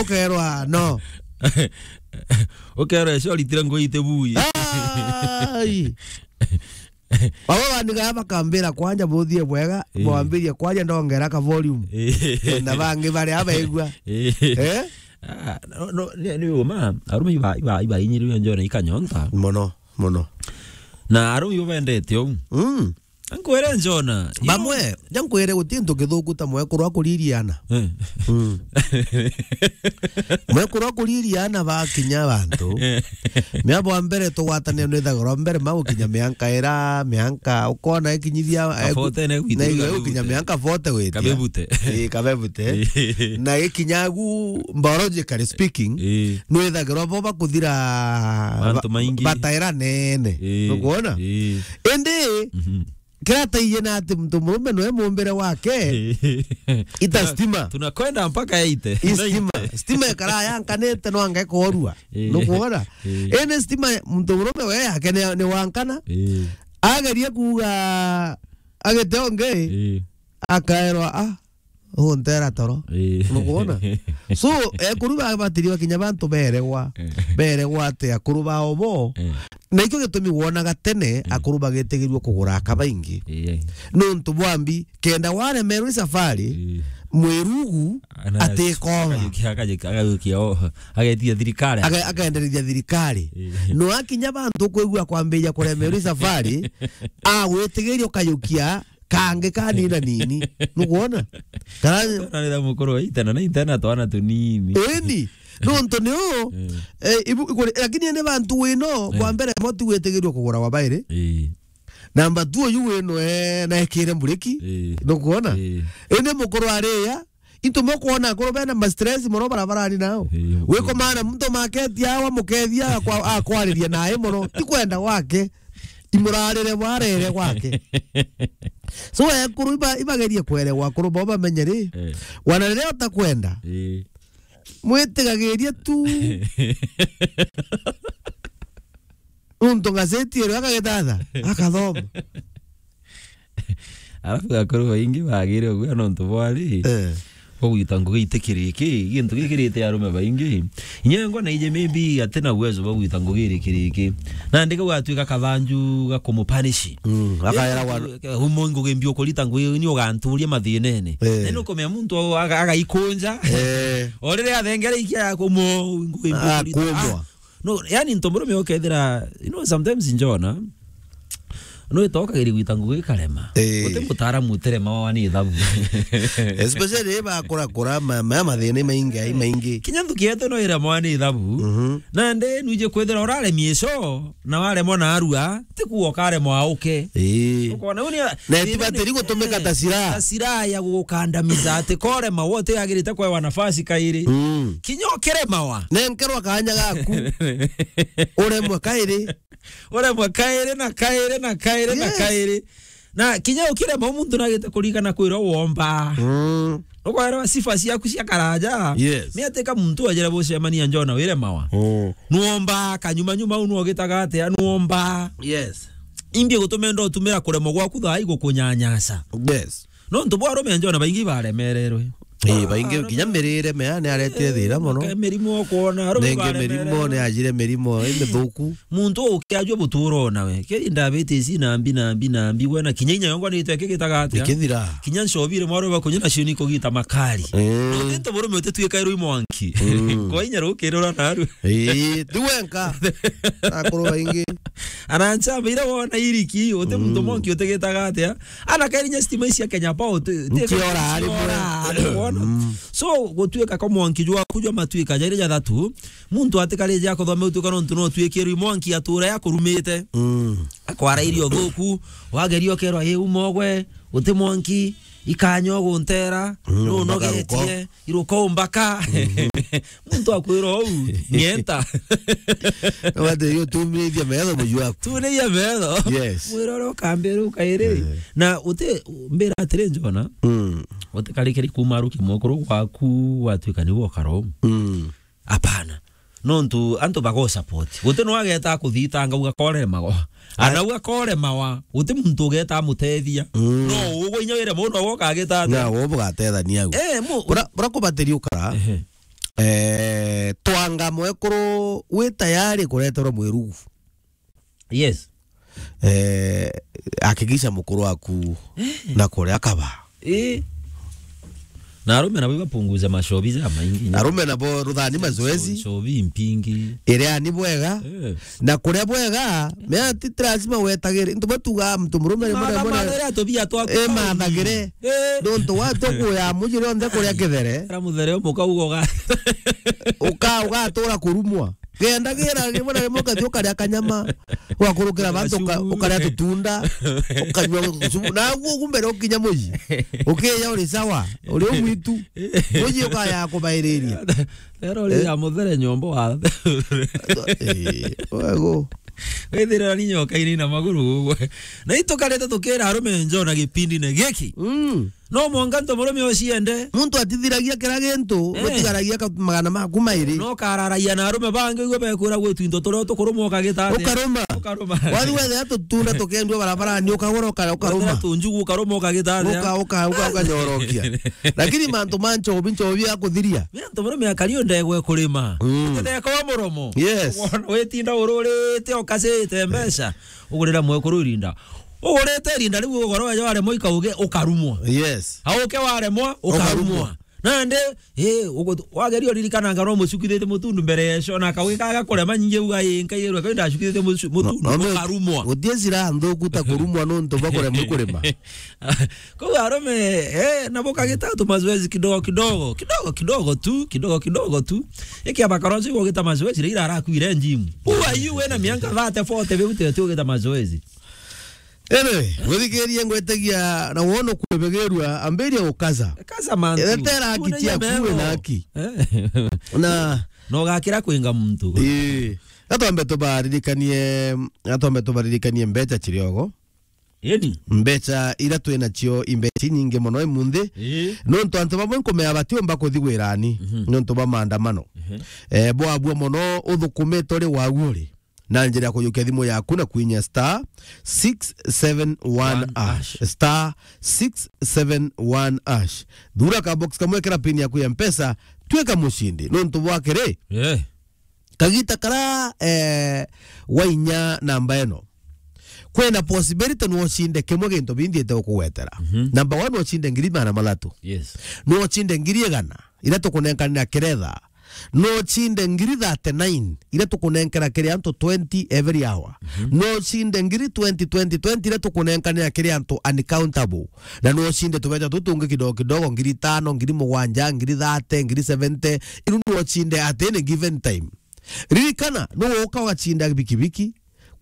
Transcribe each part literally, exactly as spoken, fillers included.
Ukerwa, no. Ukerwa, "Eco ritire ngui ite bui." Ai. Baba bandiga bakambira kwanja buthie bwega, ii, bwambirie kwaria ndongera ka volume. Ii. Na bangi bari abaigua. Ii. Eh? Ah, no, no, ni, ni uma, arumi iba, iba, iba inyiri yo njona ikanyonta. Mono, mono. Na arumi ibo bendete ou. Mm. Nkwere njona. Bamwe, ja nkwere guti ntu kithuku ta mwekuru akuririana. Eh. Mm. Mwekuru akuririana bakinya bantu. Eh. Mea bwa mbere tugwatanire nwithagirwa mbere ma gukinya mianka ira, mianka ukona ikinyithia, eh, Kabote ne gwitire na gukinya kabebuti. Mianka forty witia. Kabebute. Eh, kabebute. Eh. Na ikinya gu biologically speaking, eh, nwithagirwa bo bakuthira mantu ba-, maingi. Bataira nene. Eh. Nukwona? Eh. Indi, mhm. Kirataiye na ati muntu murume nwe mumbire wake, ita stima. Tunakwenda mpaka eighty. I stima. Stima ikara yankanite no anga ikorua. Eh. Nukwona? Eh. Ene stima muntu murume we yake ni, ni wankana. Eh. Agerie kuuga agite ungi, eh, akaerwa, ah, untera toro. Eh. Nukwona? So, ekuru ba-, batiri bakinya bantu beregwa, eh, beregwa ati akuru bao bo. Eh. Na ikio gitumi wonaga tene, eh, akuru bagetigirua kugura aka baingi. Eh. Nuntu bwambi, kenda waremerwe safari, eh, mwirugu atikoma. Akayukia, akayukia, akayukia, o, agetia thirikari. Aka-, akaendereithia thirikari. Eh. No akinya bantu kwigua kwambiria kuremerwa safari, agwitigiria ukayukia kangi kanina nini. Nukwona? Kana twana ni mukuru wa itana na itana twana tunini. Eni. Nontu ni u, eh, eh, ibu-, ikuri-, lakini ene bantu wino, eh, kwa mbere mo ti gwitigirua kugura wa bairi. Eh. Namba two uyu wino, eh, naekire mburiki. Eh. Nukwona? Eh. Ene mukuru aria, into mo kwona akuru bena ma stress mono barabarani nao. Eh, wiko okay. Mana muntu maketi awa mukethia akwa-, akwariria nae mono. Ti kwenda gwake. Imurarire bwarere gwake. So, ekuru iba-, ibagerie kwerewa akuru bo bamenye ri, eh, wana riria utakwenda, eh, mwitigagirie tu. Nuntu ngazeti irio akagitatha, akathoma. Alafu akuru baingi bagire uguo nontu bwari, eh, bagwita ngugi itikiriki, gintu gikirite arume baingi. Inya ngwa na ije maybe atina uwezo bagwita ngugi irikiriki. Na ndika gwatuika kathanju ga kumupanish. Mm, akaera wa- Umo ngugi mbi ukurita ngugi ni uganturia mathinene. Eh. Na ni ukumenya muntu aga-, agaikunja. Eh. O riria athengere ikia ya kumo ngugi mbi ukurita. Ah, kumbwa. Ah, no, yani ntomurume ukethira, you know, sometimes njona, no itokagiri gwita ngugi ikarema. Eh. Uti mutaaramu utirema wa ni ithabu. Especially ba kura kura ma, ma mathina maingi, ai maingi. Kinya nthuki yetu no irema wa ni ithabu. Mhm. Na nde nwije kwithira uraremia ico, na waremwa na arua, ti kuuga ukaremwa auke. Ii. Ukona uni na itibatiri gutumika ta silaha. Ta silaha ya gukandamiza ati korema wote agirite kwewa nafasi kairi. Mm. Kinya ukiremawa. Nenkerwa kanya gaku. Uremwe kairi. Uremwe kairi na kairi na kairi na, yes, kairi. Na kinya ukirema muntu nagite kurigana kwira womba. Mm. Ukwarewa sifa ciaku cia karaja. Yes. Ni atika muntu ajira bucemania njona wire mawa. Mm. Nuomba kanyuma nyuma unu ogitaga atia nuomba. Yes. Imbi gutumenda utumira kuremwa gwaku thaa igukunyanyasa. Yes. Nontu bwa arume njona baingi baremererwe. Ii, baingi kinya mirire mea ni aretire thira mono. Maka-, mirimo ukwona, arume ningi baremererwe. Mirimo ni ajire mirimo imithuku. Muntu ukiajua buturo nawe. Kiri diabetes na mbi na mbi na mbi, we na kinya inya yongo ni itwe kigitaga atia? Ikithira. Kinya ncobi rimwe arume bakunywa nacio ni kugita makari. Mm. No, nontu burume utituika irui mwanki. Mm. Kwa inya rukirura naru. Ii, ti wenka. Akuru baingi. Anancha mbira wona iriki, uti muntu, mm, mwanki utigitaga atia? Ana kairinya stima ici cia Kenya Power, ti, ti nkiora ari mwe. Wona? Mm. So, gutuika kwa mwanki jwa kujwa matuika jairi jathatu, muntu atikarije akothome utuika nontu no tuikirwi mwanki atura yakurumite. Mm. Akwara irio thuku, wageria ukerwa, "Ii, umogwe, uti mwanki, ikanya uguntera, mm, no umbaka ruko." Nogetie, iruko umbaka. Mhm. Muntu akwira uu, ng'enta. Wate yo tumithia metho muju waku. Tunithia metho. Yes. Mwira uria ukambira ukairi. Eh. Na uti mbira atiri njona. Mm. Utikarikiri kuma ruki mukuru gwaku watuika ni wokaro. Mm. Hapana. Nontu antu bago support. Guti no ageta kuthitanga ugakoremago. Ai. Ana ugakoremawa. Guti muntu ugeta amutethia. Mm. No ugwe inya wire muno woka ageta ati. Na wo bugatethania au. Eh, mu- Bura, bura kubatiri ukara. Ehe. Eh, twanga mwekuru wi tayari kureterwa mwirugu. Yes. Eh, hakikisha mukuru waku na kuria kaba. Eh. Na arume nabo ibapunguza macobi ja maingi. Arume nabo ruthani mazoezi. Cobi mpingi. Iria ni bwega. Eh. Na kuria bwega, mea ti lazima wetagire. Ntu batuga mtu murume ni mwana mwana. Mathagire atubia twaku. Eh, mathagire. Eh. Nontu watu kuya muji rionthe kuria kithere. Era muthere umuka ugoga. Uka, ugatura kurumwa. Gendagira rimwe na rimwe ukathi ukaria kanyama, ugakurukira bantu uka-, ukaria tutunda, ukanyua gucubu. Na guo guo mbere ukinya muji. Ukiya uri sawa, uri umwitu. Muji ukaya kubairiria. Rero uri ya muthere nyombo wa. Eh, wego. Withirira ni nyoka ini na maguru uguo. Na itukarete tukira arume njo na gipindi ne giki. Mm. No mwanka nto murume uciende. Muntu atithiragia kira gintu, eh, gutigaragia ka-, magana maku mairi. No kararagia na arume bangi, igwe bekwira gwitu into turio tukurumwa ukagita atia? Ukaruma. Ukaruma. Wathi wethira tutunda tukendua barabarani, ukagura uka-, ukaruma. Wethira tunjugu ukaruma ukagita atia? Uka-, uka-, uka-, ukanyorokia. Lakini mantu ma nchobi, nchobi ya kuthiria. Ni antu murume akario ndegwe kurima. Mm. Utetheka wa muromo. Yes. Wona witinda ururite ukacite mbeca. Ugurira mwekuru irinda. Ugurite irinda riu ugoro weja waremwa ikauge ukarumwa. Yes. Auke waremwa, ukarumwa. Ukarumwa. Nandi, eh, ugu-, wageria uririkana anga no mucukithite mutundu mbere yeco, na akauge kaga kurema nyingi uga, "Ii, nkairwe, kai ndacukithite mucu-, mutundu, no, no, ukarumwa." Gutie cira nthuku ta kurumwa nontu bwa kuremwa kurima. Kou arume, eh, nabo kagita tu mazoezi kidogo kidogo, kidogo kidogo tu, kidogo kidogo tu. Iki abakoroji gogita mazoezi, rira arakuire gym. Who are you wena mianka thirty, forty, biu tete ugita mazoezi? Anyway, gwithikiria ngwetagia na wono kwebegerua, ambiria ukaza. Kaza mantu. Etera haki. Una ciaku, nyama we na ego. Haki. Eh. Na no gakira kwinga muntu. Ii. Gatwambe tubaririkanie, gatwambe tubaririkanie mbeca ciriogo. Eni. Mbeca ira twi nacio i mbeca inyingi mono imunthi. Ii. Nontu antu bamwe nkumea batiumba kuthi wirani. Mhm. Nontu bwa maandamano. Mhm. Eh, bwabua mono uthukumite uri wagu uri. Na njira ya kujukia thimu yaku na kwinya star six seven one hash. One hash. Star six seven one hash. Thura ka box kamwe, kira pin yaku ya Mpesa, twika mucindi. Nontu bwa kiri? Eh. Kagita kara, eh, wainya namba ino, kwina possibility no ucinde kimwe gintu bindi ite ukugwetera. Mhm. Number one, no ucinde ngiri magana mathatu. Yes. No ucinde ngiri igana, ira tukunenkanira kiretha. No ucinde ngiri thirty-nine, ira tukunenkera kiri antu twenty every hour. Mhm. No ucinde ngiri twenty, twenty, twenty, ira tukunenkanira kiri antu uncountable. Na no ucinde tubeca tutungi kidogo kidogo, ngiri tano, ngiri mugwanja, ngiri thirty, ngiri seventy. Iru no ucinde at any given time. Ririkana, no uka ugacinda bikibiki,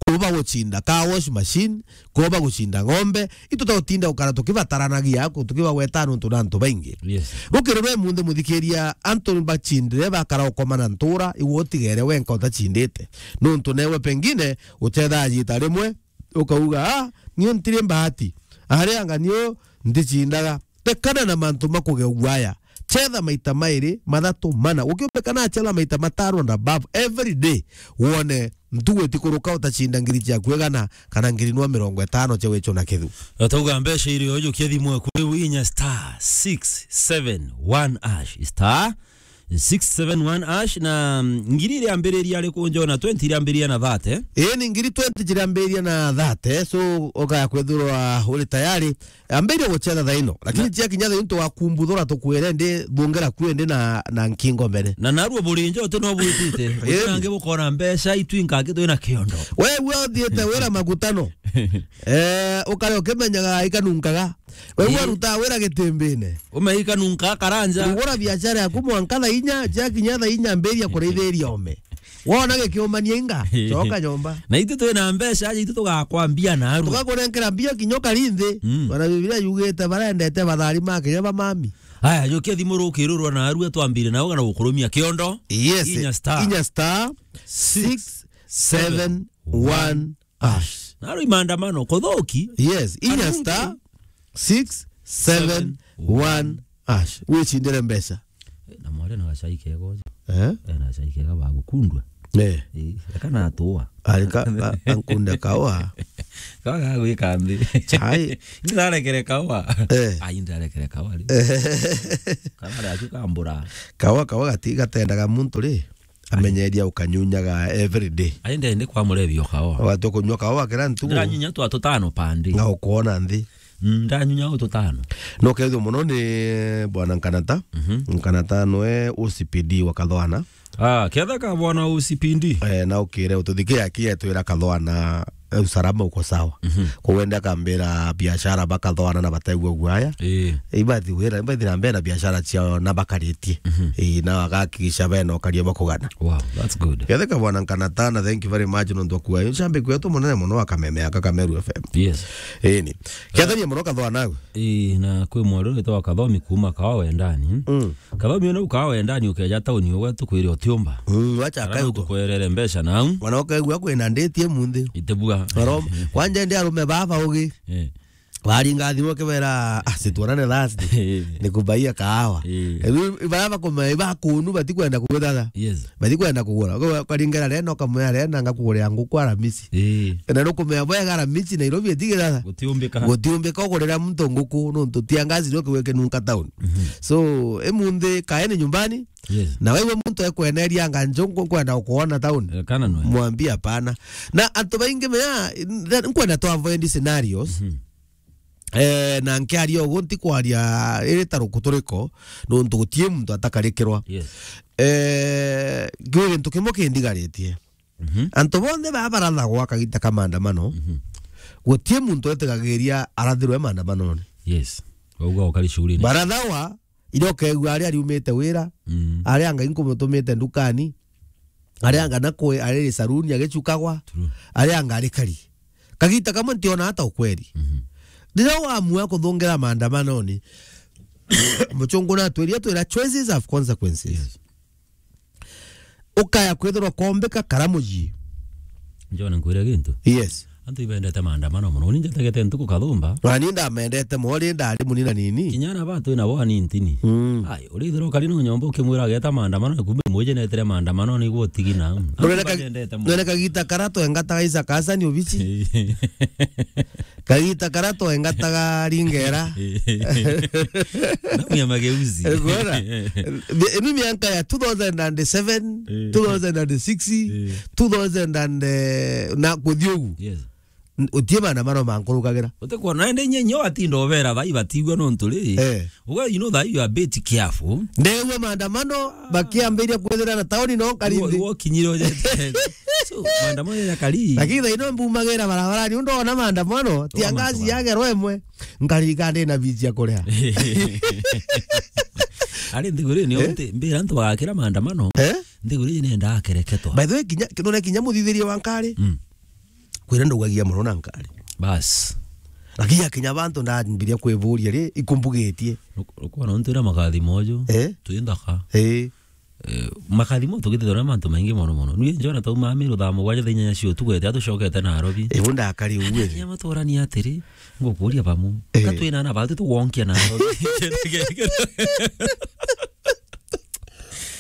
kuba gucinda car wash machine, kuba gucinda ng'ombe, itu tautinda gukara tukibataranagia, ku-, tukibagweta nuntu na antu baingi. Yes. Rukiri rwe munthi muthikiria, antu bacindire bakara ukoma na ntura, iwe utigere wenka utacindite. Nuntu newe pengine utethaa jita rimwe, ukauga, "Ah, niu ntiri mbahati. Ari anga niu nticindaga." Tekana na mantu ma kugeugua aya. Chetha maita mairi, mathatu, mana. Ukiumbika na chetha maita matano and above every day, wone ntugu itikuruka utacinda ngiri ciaku igana kana ngiri nwa mirongo itano cia wicho na kithu. Atauga mbeca iri ujukia thimu eku riu inya star six seven one hash, star six seven one hash, na, mm, ngiri iri ambiriria ari kunjona twenty iri ambiriria na thirty. Ii, ni ngiri twenty ciri ambiriria na thirty, so ukaya kwithirwa uri tayari. Ambiriria guchetha thaino, lakini na cia kinya thaino tugakumbuthura tukwire ndi thungera kwi ndi na, na nkingo mbere. Na narua burinjo uti no bwitite. Ii. Uti nangi bukona mbeca itwinka aki twina kiondo. We, we uthiite wira magutano. Eh, ukare ukimenyaga ikanunkaga. We, we, ii, uruta wira gitimbine. Ume ikanunka karanja. Ugura biashara yaku mwanka thaa inya, cia kinya thaa inya ambiriria kurithiria ome. Wona gikiumania inga, coka nyomba. Na itu twina mbeca, aja itu tugakwambia narua. Tugakunenkera mbia kinya ukari nthi. Mm. Ona Biblia yugite, "Barendete bathari ma kinya ba mami." Aya, jukia thimu rukirurwa narua, twambire nao na gukurumia kiondo. Yes. Inya star. Inya star six seven one hash. Narua i maandamano, kuthuki. Yes, inya star six seven one hash. Wicindire mbeca. Na mwari na gacai kega uju. Eh? Eh, na gacai kega bagukundwa. Eh. Eh, kana atua. Ari ka, ka, ka nkunde kawa. Kawa gagwika nthi. Chai. Ndirarekere kawa. Eh. Ai, ndirarekere kawa ri. Kana ari aku kambura. Kawa, kawa gati gatendaga muntu ri. Amenyeria ukanyunyaga every day. Ai, ndende kwa murebi o kawa. Watu kunywa kawa kira ntuku. Ndiranyunya twa tutano pandi. Nga ukuona nthi. Mm, ndanyunya o tutano. No kethio muno ni bwana Nkanata. Mhm. Nkanata nwe O C P D wa Kathwana. Ah, ketha ka bwana O C P D. Eh, na ukire ututhikia kia twira Kathwana, eh, usalama uko sawa. Mhm. Kwa wenda kambira biashara ba Kathwana na bategwa guaya. Eh. Ibathi wira, ibathi na mbere na biashara ciao na bakaritie. Mhm. Eh, na agakikisha bena ukaria bakugana. Wow, that's good. Ketha ka bwana Nkanata na thank you very much nontu kwa. Shambi kwetu munene muno wa Kameme aka Kameru F M. Yes. Eh, ni. Ketha ni muno Kathwana. Ii, na kwi mwari witagwa Kathomi kuuma Kawa Wendani. Mm. Kathomi ona ukawa Wendani ukeja tauni ugwe tukwire utiumba. Mm, wacha Ara akae no uko. Tukwerere mbeca nau. Mwana ukaigua kwina ndeti munthi. Itibua. Oro, kwanja ndi arume baba ugi. Eh. Waringa thimu kibera, ah, situonane last. Eh. Nikubaia kahawa. Eh. Riu bara bakuma, bakunu batikwenda kuguthatha. Yes. Batikwenda kugura. Kwa, kwa ringera rena ukamwira rena ngakugurira nguku Aramisi. Eh. Na nukumenya bwega Aramisi Nairobi itigira. Gutiumbika. Gutiumbika ugurira muntu nguku nontu tia ngazi rio kiwe kinunka town. Mhm. So, emunthi kaeni nyumbani. Yes. Na wewe muntu ekweneria anga njo nkwenda ukuona town. Eh, kana nwe. Mwambie hapana. Na antu baingi mea, nkwenda to avoid scenarios. Mhm. Eh, na nkiaria ugu ntikwaria iri ta rukuturiko, nontu gutie muntu atakarikirwa. Yes. Eh, ngiuga gintu kimwe kindigaritie. Mhm. Antu bonthe baa barathagwa kagita ka maandamano, mhm, gutie muntu etigagiria arathirwe maandamanone. Yes. Wauga ukari shughuli ni. Barathagwa, iria ukeigua aria ariumite wira, mm, aria anga inkumutumite ndukani, aria anga na kwe ari saruni agicukagwa, true, aria anga ari kari. Kagita kamwe ntiona hata ukweri. Mhm. Riria wamua kuthungira maandamanoni, Muchungu natwirie twira choices have consequences. Yes. Ukaya kwithirwa kombeka kara muji. Njone nkwire gintu. Yes. Antu ibendete maandamano muno. Ni njetegete ntuku kathumba. Na ni ndamendete mori ndari munina nini. Kinya na batu na bo ani ntini. Mm. Ai, urithirwa ukari no nyomba ukimwira ageta maandamano, kumbe mwije netire maandamano ni gutigi na. Antu noneka, ibendete muno. Noneka gita kara twengataga Isaac Hassan obici. Kagita kara twengataga ringera. Namwe ya mageuzi. Gwona? Imi mianka ya two thousand and seven, eh, two thousand and six, eh, two thousand and, eh, na kuthiogu. Yes. N-, utie maandamano mankurukagira. Utekwona ende nye nyo atinda obera thai batigwa nontu ri. Eh. Well, you know that you are a bit careful. Ndegua maandamano bakiambiria kwithira na tauni no karithi. Iwo, iwo kinyiro jete. So, maandamano ya kari. Lakini thaino mbumagira barabarani, undo ona maandamano, tia ngazi yagerwa imwe, nkarika ndi na bici ya kuria. Ari nthiguru ni, eh? Nti, mbira antu bagakira maandamano. Eh? Nthiguru ni nenda akereketwa. By the way, kinya, kinone kinya muthithiria wa nkari. Mm. Kwira ndugagia muno na nkari. Bas. Lakini akinya bantu ndambiria kwivuria ri, ikumbugitie. Ukona ntu ira makathimo uju. Eh? Twi nthaka. Eh. Eh, makathimo tugitithirwa na mantu maingi mono mono. Nui njona tauma Meru thaa mugwanja thaa inyanya cia utuku, eti atucokete Nairobi. Ibu ndakari uwe. Kinya maturani atiri, ngukuria bamu. Eh. Ka twina na batu tugonkia Nairobi.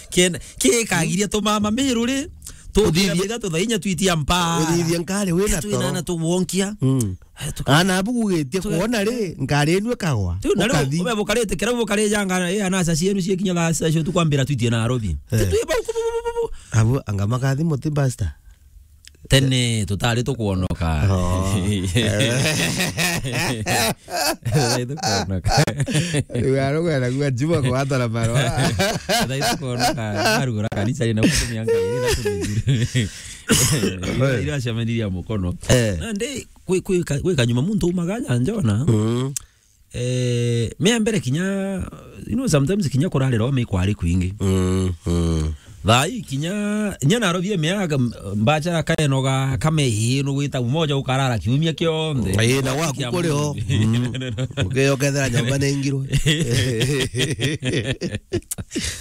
Kien-, kikagiria tumama Meru ri, tuthithia, tuthithia thaa inya twitia mpa. Uthithia nkari wina toro. Twina na tugonkia. Mm. Eh, tuka-, ana abu gugitie tuka-, kuona ri, nkari inu ikagwa. Riu na riu ukathi. Ube bukarite kira bukarija anga, eh, anasa cienu cie kinya thaa sita cio tukwambira twitie Nairobi. Eh. Titwi bau, bu, bu, bu, bu, bu. Abu anga makathi muti basta. Tene tutari tukwonoka. Oh. Tutari tukwonoka. Riu arugwera gua Juma kwatara marwa. Tutari tukwonoka. Arugura kanisa ina kutumia ngai ina kutumia. Ira, ira ciameniria mukono. Eh. Na ndi kwi, kwi ka, kwi kanyuma muntu umaga nyanjona. Mm. Eh, mea mbere kinya, you know, sometimes kinya kurarira ome kwari kwingi. Mm, mm. Thai kinya, nya Nairobi mea mbachara kaenoga kame ino gwita umoja ukarara kiumia kionthe. Ii, na gwaku kuri o. Mm. Ukeyokethera nyomba ni ngirwe.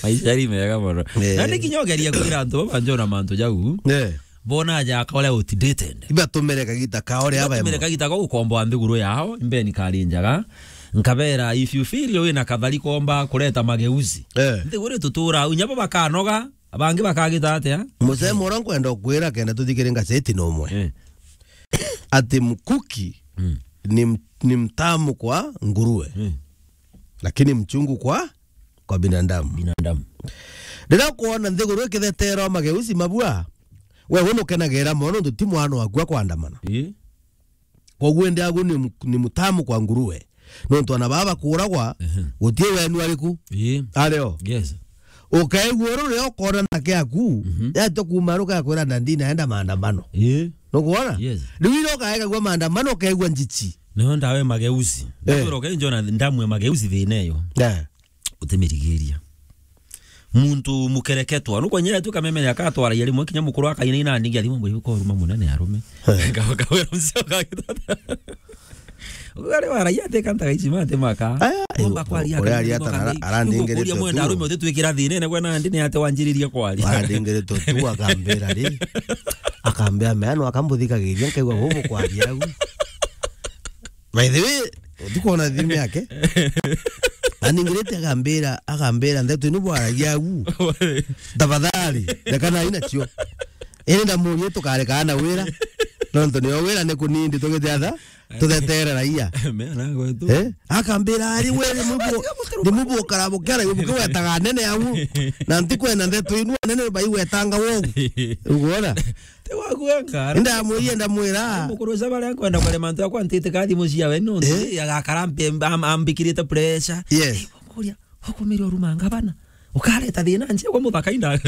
Maisha ni mega mono. Eh. Na ndi kinya ugeria kwira antu baba njona mantu jau. Eh. Bona aja akore outdated. Ibatumire kagita kao ria. Ibatumire kagita kao gukomboa nthiguru yao, imbeni kari njaga. Nkabera, if you feel wina kathari komba kureta mageuzi. Eh. Nthiguru tutura, unya bo bakanoga, Abangi bakagita atia? Musemo uria nkwenda ukwira kenda tuthikire ngaceti no umwe. Eh. Ati mkuki Mm. ni m-, ni mtamu kwa nguruwe, Mm. lakini mchungu kwa, kwa binadamu. Binadamu. Riria ukwona nthiguru ikithetera mageuzi mabua, we, we nukenagira mono nontu ti mwana waku akwandamana. Ii. Koguo indi agu ni mu-, ni mtamu kwa nguruwe. Nontu ana baba bakuragwa, Ehe. gutie wenu ariku. Ii. Ario. Yes. Ukaigua uru riria ukona nake aku, Mhm. yatwa kuma ruka kwira ndandi naenda maandamano. Ii. Nukwona? Yes. Riu ira ukaegagua maandamano, ukaigua njichi. Niyo ndawe mageuzi. Eh. Ndakwira ukainjona ndamu ya mageuzi thina iyo. Eh. Utimirigiria. Muntu mukereketwa. Nukwonyera tu kameme ni akatwaragia rimwe kinya mukuru akaina ina ndingi athima mwe koruma munene arume. Eh. Ka-, kawira mzee akagita. Ugare waragia ate kanta gaichi mate maka. Aya, Omba yu-, kwaria uria kana aria maka atana mei. Arandingiritwe Uria mwenda tu. Arume utitwikira thina ene gwe nandi ni ate wanjiririe kwaria. Arandingiritwe tu akambira ri. Akambia meano akambuthikagiria nkaigua bubu kwaria au. By the way, utikwona thimu yake? Aningirite akambira, akambira ndeto inu bwaragia au. Tafadhali, reka na ina cio. Ene ndamurie tukareka na wira. Nontu nio wira ni kunindi tugite atha, tuthetere raia. Meana gwetu. Eh? Akambira ari we ni mubu, ni mubu ukara bukera yubu kiwetaga nene au. Na ntikwenda ndeto inu nene baiwetanga wou. Uguona? Te waku wenka. Ndamwira, ndamwira. Mukuru ucio baria nkwenda kare mantu akwa ntite kathi mucia we no. Eh? Agakara mpe-, am-, ambikirite pressure. Yes. Eh, kuria, ukumire uruma ngabana. Ukareta thina nje kwa muthaka inda.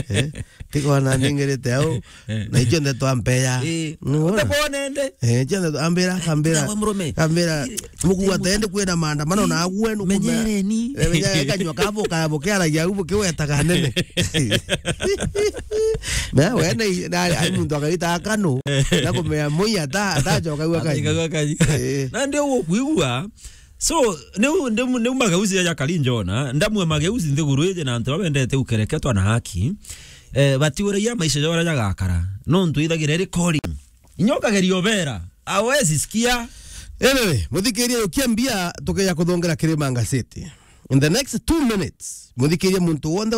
Eh, tikona ningirite au. Eh. Na icio ndeto ampeya. Eh. Nuona? Utabone nde. Eh, icio ndeto ambira, ambira. Nawe murume. Ambira. Mukuwa tende kwina maandamano na agwe nukume. Menyereni. Eh, menyere kanywa kabo kaya bukiaragia au bukiwetaga nene. Na we na i-, na ai muntu akagita akano, na kumea moi ata, atacoka gwa kaji. Atacoka gwa kaji. Eh. Na ndio ukwigua. So, niu, niu, niu mageuzi ya Jakari Njona, ndamwe mageuzi nthiguru iji na antu babendete ukereketwa na haki. Eh, batiuragia maisha jora jagakara. Nontu ithagira iri calling. Inya ukageria ubera, hawezi sikia. Anyway, muthikiria ukia mbia tukeja kuthongera Kirima Ngasiti. In the next two minutes, muthikiria muntu wonthe